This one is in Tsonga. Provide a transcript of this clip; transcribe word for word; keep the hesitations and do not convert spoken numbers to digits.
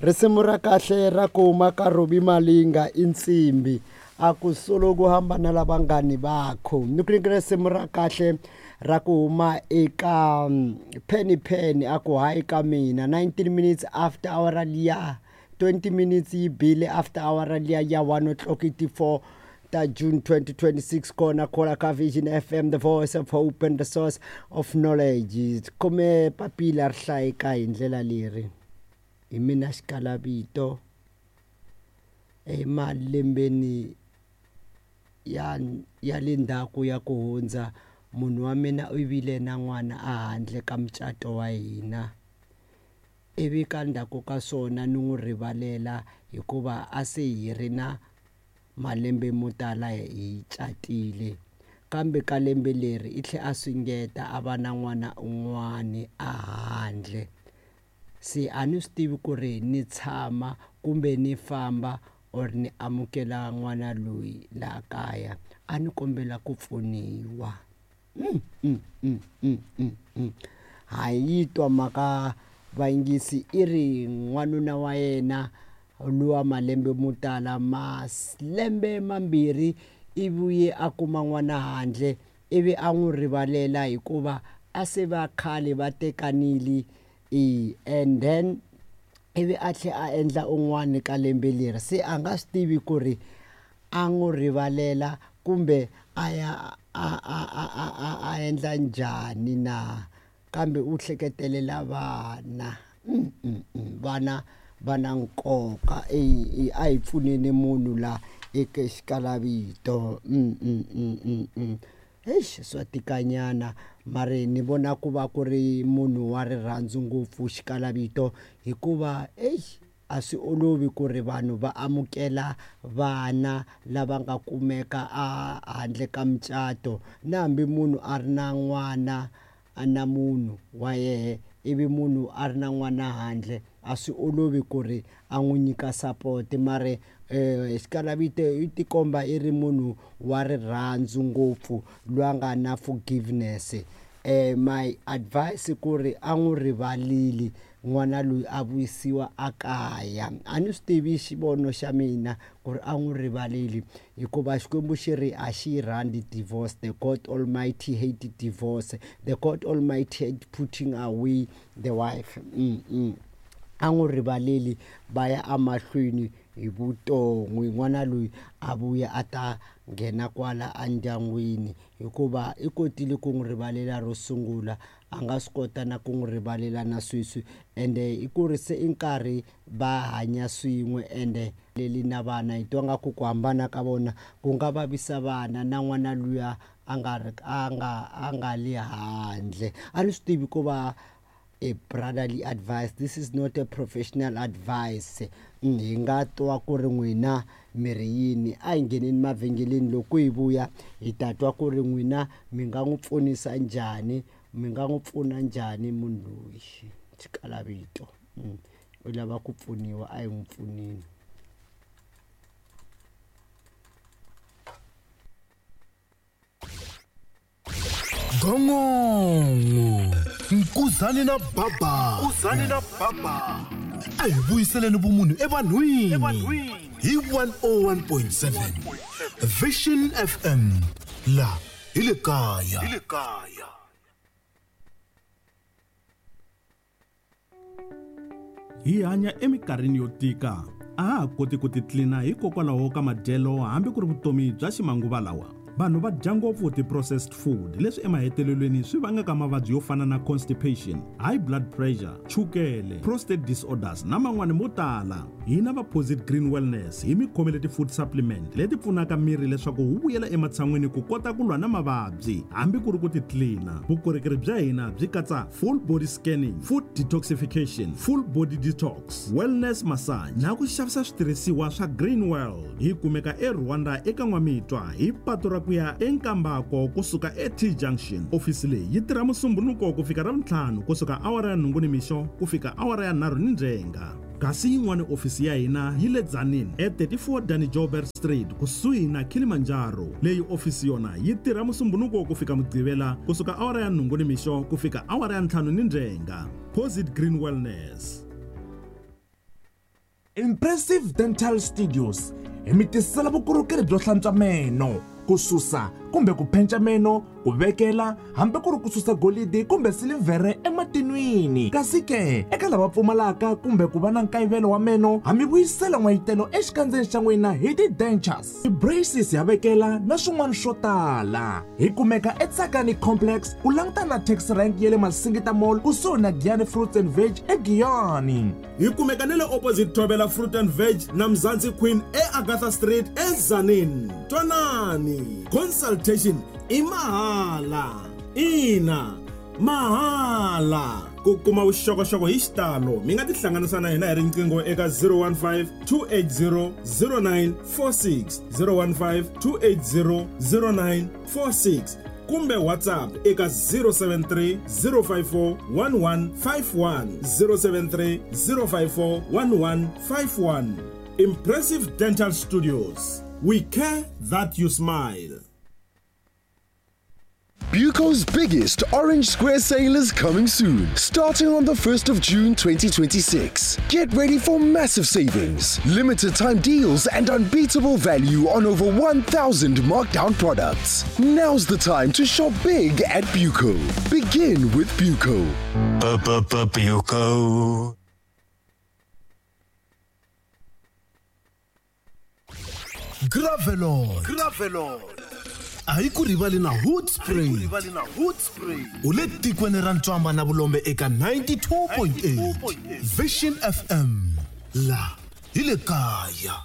Risimu ra kahle ra ku huma ka Robbie Malinga i nsimbi a ku solo ku hambana la vanghani vakho ni ku nyika risimu ra kahle ra ku huma eka Penny Penny a ku hayi ka mina nineteen minutes after hour liya twenty minutes yi bile after hour liya ya one o'clock eighty-four ta June twenty twenty-six kona kola ka Vision F M, the voice of hope and the source of knowledge. Kome papila ri hlayeka hi ndlela leri hi mina xikalavito emalembeni ya ya le ndzhaku ya ku hundza munhu wa mina u vile na n'wana a handle ka mucato wa hina ivi ka ndzhaku ka swona ni n'wi rivalela hikuva a se hi ri na malembe mo tala hi catile kambe ka lembe leri i tlhe a swingeta a va na n'wana un'wani a handle se a ni swi tivi ku ri ni tshama kumbe ni famba or ni amukela n'wana loyi laha kaya a ni kombela ku pfuniwa. mm, mm, mm, mm, mm, mm. Ha yi twa mhaka vayingisi i ri n'wanuna wa yena luwa malembe mo tala malembe mambirhi i vuye a kuma n'wana handle ivi a n'wi rivalela hikuva a se va khale va tekanile e and then ivi a tlhe a endla un'wana ka lembe leri se a nga swi tivi ku ri a n'wi rivalela kumbe a ya a a a a a endla njhani na kambe u hleketelela vana. mm, mm, mm. Vana va na nkoka e a hi pfuneni munhu la eka xikalavito. mm, mm, mm, mm, mm. Eish swa tikanyana mara ni vona ku va ku ri munhu wa rirhandzu ngopfu xikalavito hikuva eish a swi olovi ku ri vanhu va amukela vana lava nga kumeka a handle ka mucato na hambi munhu a ri na n'wana na munhu wa yehe ivi munhu a ri na n'wana handle a swi olovi ku ri a n'wi nyika support mara eh xikalavito i tikomba i ri munhu wa rirhandzu ngopfu loyi a nga na forgiveness. Eh my advice ku ri a n'wi rivaleli n'wana loyi a vuyisiwa a kaya a ni swi tivi xivono xa mina ku ri a n'wi rivaleli hikuva Xikwembu xi ri a xi rhandzi divorce. The God Almighty hate divorce, the God Almighty hate putting away the wife. mm, mm. A n'wi rivaleli va ya emahlweni hi vuton'wi n'wana loyi a vuya a ta nghena kwala endyangwini hikuva i kotile ku n'wi rivalela ro sungula a nga swi kota na ku n'wi rivalela na sweswi ende i ku ri se i nkarhi va hanya swin'we ende leli na vana hi twa nga ku ku hambana ka vona ku nga vavisa vana na n'wana luya a nga ri a nga a nga le handle. A ni swi tivi ku va a brotherly advice, this is not a professional advice. Hi nga twa ku ri n'wina mi ri yini a hi ngheneni mavhengeleni loko hi vuya hi ta twa ku ri n'wina mi nga n'wi pfunisa njhani mi nga n'wi pfuna njhani munhu loyi xikalavito u lava ku pfuniwa a hi n'wi pfuneni. Gongongo Nkuzani na Baba Nkuzani na Baba a hi vuyiseleni vumunhu evanhwini hi one oh one point seven Vision F M la hi le kaya. Hi le kaya. Hi hanya eminkarhini yo tika a ha ha koti ku titlina hikokwalaho ka madyelo hambi ku ri vutomi bya ximanguva lawa. Vanhu va dya ngopfu ti-processed food leswi emahetelelweni swi vangaka mavabyi yo fana na constipation, high blood pressure, chukele, prostate disorders na man'wani mo tala. Hina va Posit Green Wellness hi mi khomele ti-food supplement leti pfunaka miri leswaku wu vuyela ematshan'wini ku kota ku lwa na mavabyi hambi ku ri ku titlina. Vukorhokeri bya hina byi katsa full body scanning, food detoxification, full body detox, wellness massage na ku xavisa switirhisiwa swa Green World. Hi kumeka eRwanda eka N'wamitwa hi patu ra ku ya eNkambako kusuka e-T Junction. Ofisi leyi yi tirha Musumbhunuko ku fika Ravuntlhanu kusuka awara ya nhungu nimixo ku fika awara ya nharhu ni ndzhenga. Kasi yin'wana ofisi ya hina yi le Tzaneen e thirty-four Danny Joubert Street kusuhi na Kilimanjaro. Leyi ofisi yona yi tirha Musumbhunuko ku fika Mugqivela kusuka awara ya nhungu nimixo ku fika awara ya ntlhanu ni ndzhenga. Posit Green Wellness. Impressive Dental Studios hi mi tisela vukorhokeri byo hlantswa meno, ku susa kumbe ku phenca meno, ku vekela hambi ku ri ku susa golidi kumbe silivhere ematin'wini. Kasi ke eka lava pfumalaka kumbe ku va na nkayivelo wa meno, ha mi vuyisela n'wayitelo exikandzeni xa n'wina hi ti-dentures, ti-braces ya vekela na swin'wana swo tala. Hi kumeka eTsakani Complex ku langutana na taxi rank ya le Masingita Mall kusuhi na Giyani Fruits and Veg eGiyani. Hi kumeka na le opposite Thobela Fruit and Veg na Mzansi Queen eAgatha Street eTzaneen. Twanani, consultation i mahala. Ina, mahala. Ku kuma vuxokoxoko hi xitalo mi nga tihlanganisa na hina hi riqingho eka zero one five, two eight zero, zero nine four six, zero one five, two eight zero, zero nine four six kumbe WhatsApp eka zero seven three, zero five four, one one five one, zero seven three, zero five four, one one five one. Impressive Dental Studios. We care that you smile. Buco's biggest Orange Square sale is coming soon, starting on the first of June twenty twenty-six. Get ready for massive savings, limited time deals, and unbeatable value on over one thousand markdown products. Now's the time to shop big at Buco. Begin with Buco. Buco. Gravelord. Gravelord. A hi ku rivali na Hoedspruit. U le tikweni ra Ntswamba na Vulombe eka ninety-two point eight. Vision F M. La hi le kaya.